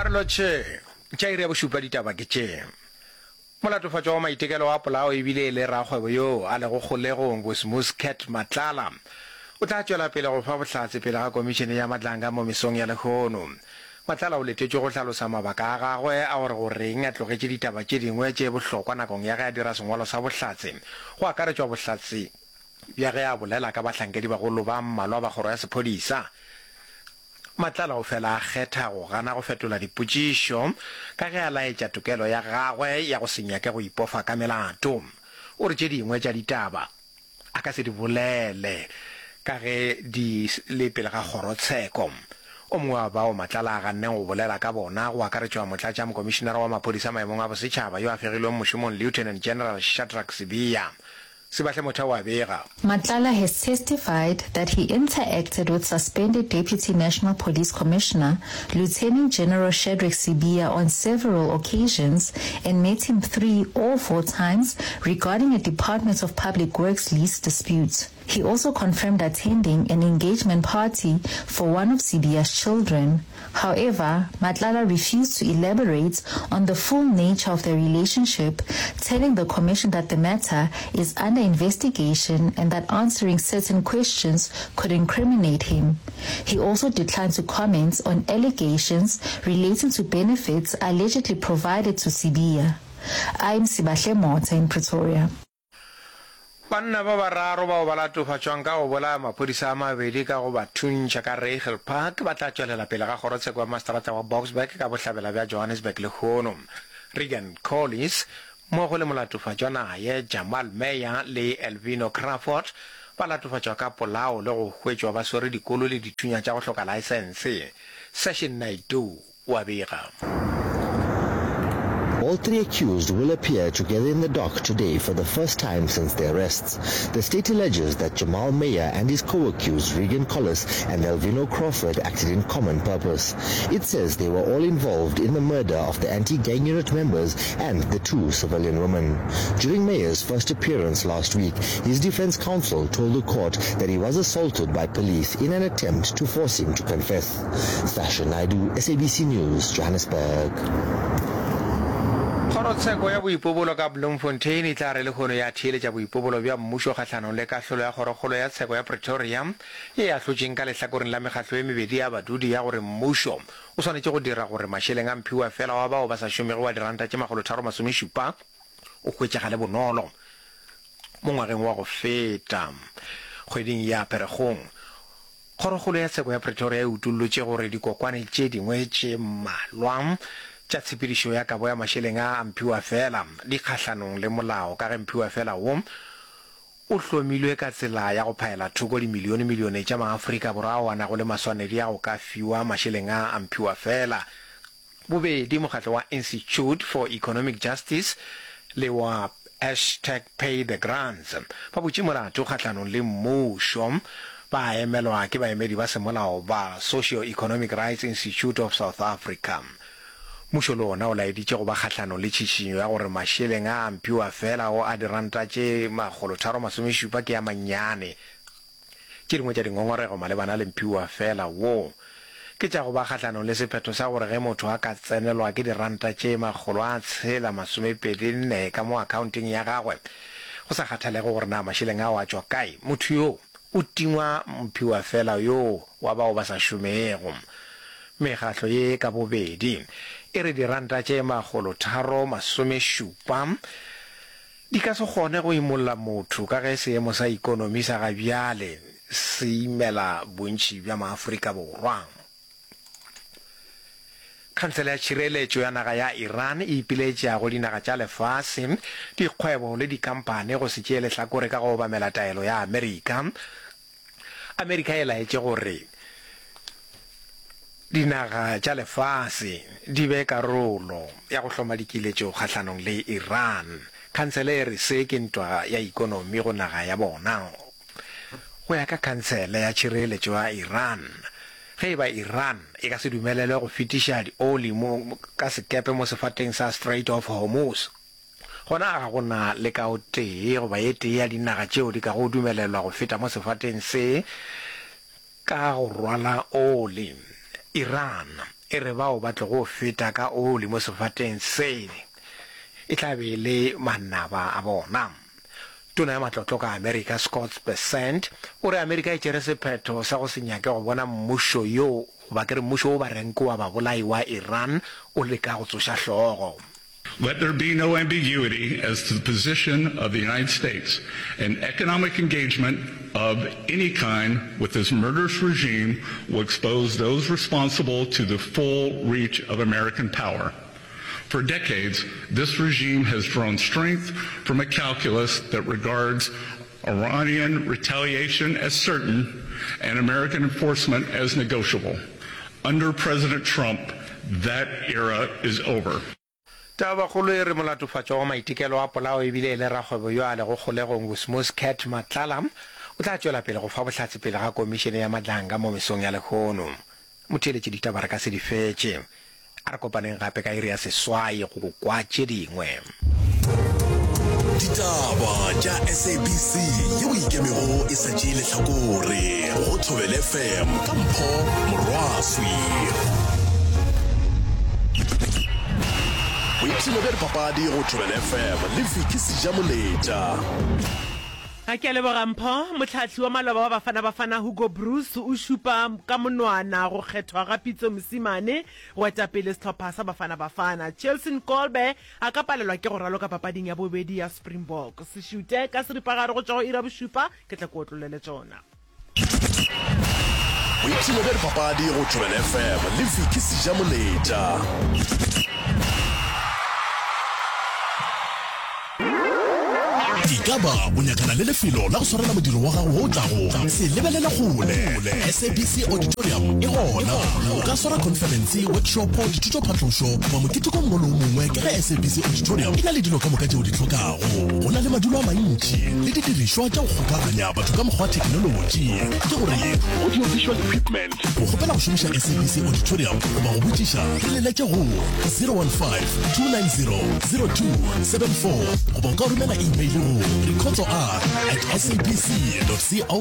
Dikarolo tše tša iri ya bošupa ditaba ke tše. Molatofatšwa wa maitekelo a polao e bile e le rakgwebo yoo a lego kgolegong, Bosmus Cat Matlala, o tla tšwela pele go fa bohlatse pele ga Komišene ya Madlanga mo mesong ya lehono. Matlala o letetšwe go hlalosa mabaka a gagwe a gore goreng a tlogetše ditaba tše dingwe tše bohlokwa nakong ya ge a dira sengwalo sa bohlatse, go akaretšwa bohlatse bja ge a bolela ka bahlankedibagolo ba mmalwa ba kgoro ya sephodisa. Matlala o fela a kgetha go gana go fetola dipotšišo ka ge a laetša tokelo ya gagwe ya go se nyake go ipofa ka melato. O re tše dingwe tša ditaba a ka se di bolele ka ge di le pele ga kgorotsheko. O mongwe wa bao Matlala a ganneng go bolela ka bona go akaretšwa Motlatšamokomišinara wa Maphodisa maemong a Bosetšhaba yo a fegilweng mošomong Lieutenant General Shadrack Sibiya. Sebahle Motha o a bega. Matlala has testified that he interacted with suspended Deputy National Police Commissioner, Lieutenant General Shadrack Sibiya on several occasions and met him 3 or 4 times regarding a Department of Public Works lease dispute. He also confirmed attending an engagement party for one of Sibiya's children. However, Matlala refused to elaborate on the full nature of their relationship, telling the commission that the matter is under investigation and that answering certain questions could incriminate him. He also declined to comment on allegations relating to benefits allegedly provided to Sibiya. I'm Sibahle Motha in Pretoria. Banna ba bararo bao ba latofatšwang ka go bolaya maphodisa a mabedi ka go ba thuntšha ka Reiger Park ba tla tšwelela pele ga kgorotsheko ya maseterata wa Boksburg ka bohlabela bja Johannesburg lehono. Regan Collis mmogo le molatofatšwa naye Jamal Meyer le Elvino Crawford ba latofatšwa ka polao le go hwetšwa ba swere dikolo le dithunya tša go hloka laesense. Session Naidoo o a bega. All three accused will appear together in the dock today for the first time since their arrests. The state alleges that Jamal Meyer and his co-accused Regan Collis and Elvino Crawford acted in common purpose. It says they were all involved in the murder of the anti-gang unit members and the two civilian women. During Meyer's first appearance last week, his defense counsel told the court that he was assaulted by police in an attempt to force him to confess. Sasha Naidoo, SABC News, Johannesburg. Kgorotsheko ya boipobolo ka Bloemfontein e tla re lehono ya theeletša boipobolo bja mmušo kgahlanong le kahlolo ya Kgorokgolo ya Tsheko ya Pretoria ye e ahlotšeng ka lehlakoreng la mekgatlo ye mebedi ya badudi ya gore mmušo o swanetše go dira gore mašeleng a mphiwafela wa bao ba sa šomego wa diranta tše makgolotharo-masomešupa o hwetšagale bonolo mo ngwageng wa go feta. Kgweding ya Pherekgong, Kgorokgolo ya Tsheko ya Pretoria e utollotše gore dikokwane tše dingwe tše mmalwa tša tshepedišo ya kabo ya mašeleng a a mphiwafela di kgahlanong le molao ka ge mphiwafela wo o hlomilwe ka tsela ya go phaela thoko dimilionemilione tša maAfrika Borwa ao a nago le maswanedi a go ka fiwa mašeleng a a mphiwafela. Bobedi mokgatlo wa Institute for Economic Justice le wa hashtag Pay the Grants ba butše molato kgahlanong le mmušo, ba emelwa ke baemedi ba semolao ba Socio-Economic Rights Institute of South Africa. Mmušo le wona o laeditše go ba kgahlanong le tšhišinyo ya gore mašeleng a a mphiwafela ao a diranta tše 370 ke a mannyane. Tše dingwe tša dingongorego malebana le mphiwafela wo ke tša go ba kgahlanong le sephetho sa gore ge motho a ka tsenelwa ke diranta tše 624 ka mo akhaonteng ya gagwe, go sa kgathalege gore na mašeleng ao a tšwa kae, motho yoo o tingwa mphiwafela yoo wa bao ba sa šomego. Mekgatlo ye ka bobedi e re diranta tše 370 Di ka se kgone go imolla motho ka ge seemo sa ikonomi sa ga bjale se imela bontši bja maAfrika Borwa. Khansele ya Tšhireletšo ya Naga ya Iran e ipiletša go dinaga tša lefase, dikgwebo le dikhamphani go se tšee lehlakore ka go obamela taelo ya Amerika Amerika e laetše gore dinaga tša lefase di be karolo ya go hloma dikiletšo kgahlanong le Iran. Khansele e re se ke ntwa ya ikonomi go naga ya bona. Go ya ka Khansele ya Tšhireletšo ya Iran, ge e ba Iran e ka se dumelelwe go fetiša dioli mo ka sekepe mo sefateng sa Strait of Hormuz, Gona ga go na le ka o tee goba e tee ya dinaga tšeo di kago dumelelwa go feta mo sefateng se ka go rwala oli. Iran. E re bao ba tlogo feta ka oli mo sefateng se e tla be e le manaba a bona. Tona ya Matlotlo ka Amerika Scott Bessent o re Amerika e tšere sephetho sa go se nyake go bona mmušo yo goba ke re mmušo wo ba reng ke wa babolai wa Iran o leka go tsoša hlogo. Let there be no ambiguity as to the position of the United States. An economic engagement of any kind with this murderous regime will expose those responsible to the full reach of American power. For decades, this regime has drawn strength from a calculus that regards Iranian retaliation as certain and American enforcement as negotiable. Under President Trump, that era is over. Tabakgolo e re molatofatšwa wa maitekelo a polao ebile e le rakgwebo yo a lego kgolegong Vusmus Cat Matlala o tla tšwela pele go fa bohlatse pele ga komišene ya Madlanga mo mesong ya lehono. Motheeletši ditaba re ka se di fetše. A re kopaneng gape ka iri ya seswai go kwa tše dingwe. Ditaba tša SABC yeo e ikemego e sa tšee lehlakore go Thobela FM ka Mpho Morwaswi. Boipshino bja dipapadi go Thobela FM le Vicky Sejamoletša. A ke a leboga Mpho. Mohlahli wa maloba wa Bafana Bafana Hugo Broos o šupa ka monwana go kgethwa ga Pitso Mosimane go eta pele sehlopha sa Bafana Bafana. Chelsin Kolbe a ka palelwa ke go raloka papading ya bobedi ya Springbok. Se šute ka seripagare go tšwa go iri ya bošupa, ke tla ke otlollele tšona. Boipshino bja dipapadi go Thobela FM le Vicky Sejamoletša. Ekaba o nyakana le lefelo la go swarela modiro wa gago wo o tlago? Se lebelele kgole, SABC Auditorium e gona. O ka swara khonferense, workshopo, dithutophatlošo goba moketeko o mongwe le o mongwe ka ge SABC Auditorium e na le dilo ka moka tše o di hlokago. Go na le madulo a mantši le didirišwa tša go kgokaganya batho ka mokgwa wa theknolotši, ke gore audio-visual equipment. Go kgopela go šomiša SABC Auditorium goba go botšiša, re leletše go 015 290 0274 goba o ka romela email go rekhotsoR at sabc.co.za.